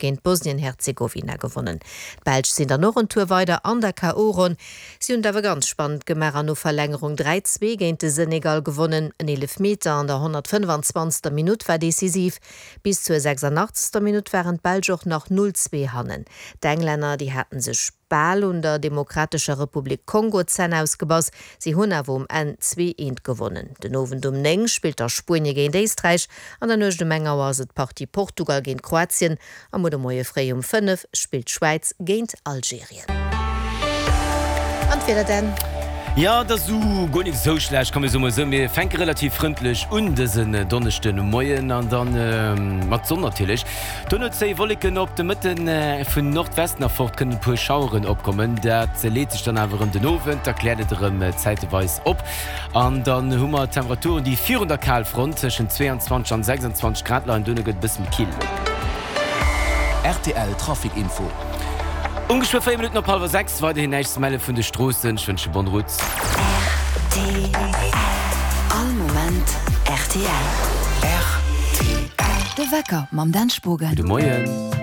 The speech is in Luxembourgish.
Géint Bosnien-Herzegowina gewonnen. D'Belsch sinn dann och en Tour weider an der KO-Ronn. Si hunn et awer ganz spannend gemaach an no Verlängerung 3, 2 géint de Senegal gewonnen. En Eelefmeter an der 125. Minutt war decisiv. Bis zur 86. Minutt waren d'Belsch och nach 0, 2 hannen. D'Englänner, déi haten sech bal un der Demokratescher Republik Kongo d'Zänn ausgebass. Si hunn awer um Enn 2, 1 gewonnen. Den Owend um 9 spillt da Spuenie géint Éisträich. An der Nuecht um eng Auer ass et d'Partie Portugal géint Kroatien a muer de Moie fréi um 5 spillt d'Schwäiz géint Algerien. An d'Wieder Dan? Jo, et ass esou guer nik esou schlecht, komm mir soe mol esou, mir fänke relativ frëndlech un dësen Donneschdemoien an dann mat Sonn natierlech. Dono zéie Wolleken op, de Mëtten vun Nordwesten erfort kënnen e puer Schaueren opkommen, dat leet sech dann awer erëm den Owend, da kläert et erëm zäiteweis op. An dann hu mer Temperaturen, déi virun der Kalfront tëschent 22 an 26 Grad leien. Duerno gëtt et e bësse méi kill. Rtl Trafic Info. Um geschwë 4 Minutten op hallwer 6, weiderhin näischt ze melle vun de Stroossen. Ech wënsche bonne route. Rtl, All Moment rtl. Rtl. De Wecker mam Dan Spogen. Gudde Moien.